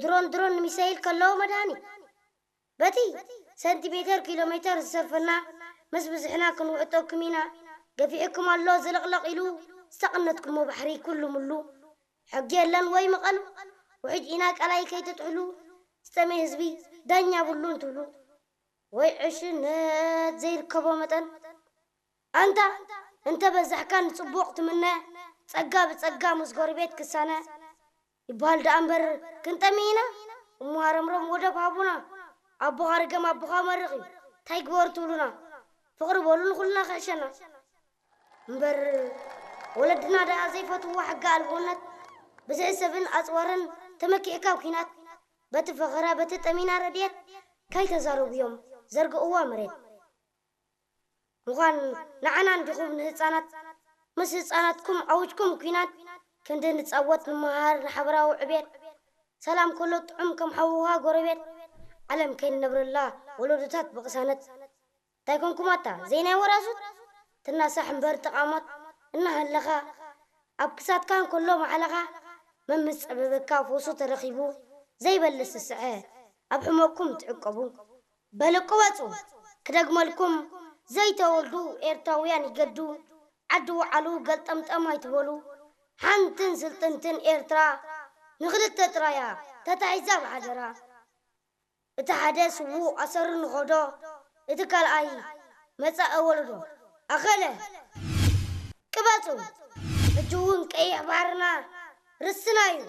ድሮን ድሮን ንሚሳይል ከለዎ መድሃኒ በቲ ሰንቲሜተር ኪሎ ሜተር ዝሰፈና ምስ ብዝሕና ክንውዕጠኩም ኢና። ገፊሕኩም ኣሎ ዝልቕለቕ ኢሉ ዝተቐነትኩሞ ባሕሪ ኩሉ ምሉ። ሕጊ የለን ወይ ምቐሉ ውሕጅ ኢና ቃላይ ከይትጥሕሉ ዝጠመየ ህዝቢ ዳኛ ብሉ እንትብሉ ወይ ዕሽነት ዘይርከቦ መጠን ኣንታ እንተ በዛሕካ ንጽቡቕ ትምነ ጸጋ ብጸጋ ምስ ጎረቤት ክሳነ ይበሃል ደኣ እምበር ክንጠሚ ኢና። እሞ ሃረምረም ወደብ ሃቡና ኣቦኻ ርገም ኣቦኻ መርቕ እዩ እንታይ ግበሩ ትብሉና ፍቕሪ በሉ ንኹልና ክሕሸና እምበር ወለድና ደኣ ዘይፈትዎ ሕጊ ኣልቦነት ብዝሒ ሰብን ኣጽዋርን ተመኪዕካ ኣብ ኲናት በቲ ፈኸራ በቲ ጠሚና ረድኤት ካይተዛረቡ እዮም ዘርግእዋ መሬት ምዃን ንዓና እንዲኹም ንህፃናት ምስ ህፃናትኩም ኣውጅኩም ኲናት ክንዲ ንፃወት ንመሃር ንሓበራዊ ዕቤት ሰላም ከሎ ጥዑም ከም ሓውኻ ጎረቤት ዓለም ከይንነብረላ ወለዶታት ብቕሳነት እንታይ ኮንኩማታ ዘይናይ ወራሱት ትናሳሕ እምበር ተቓሞት እናሃለኻ ኣብ ክሳትካ እንከሎ ማዕለኻ መምስ ጸበበካ ፈውሱ ተረኺቡ ዘይበልስ ዝስዐ ኣብ ሕመቕኩም ትዕቀቡ በልቅበጹ ክደግመልኩም ዘይተወልዱ ኤርትራውያን ይገዱ ዓዲ ውዓሉ ገልጠምጠም ኣይትበሉ ሓንትን ስልጥንትን ኤርትራ ንኽልተ ጥራያ ተታሒዛ ብሓደራ እቲ ሓደ ስዉእ ኣሰሩ ንኸዶ እቲ ካልኣይ መጻኢ ወለዶ ኣኸለ ቅበጹ ሕጂ እውን ቀይሕ ባሕርና ርስና እዩ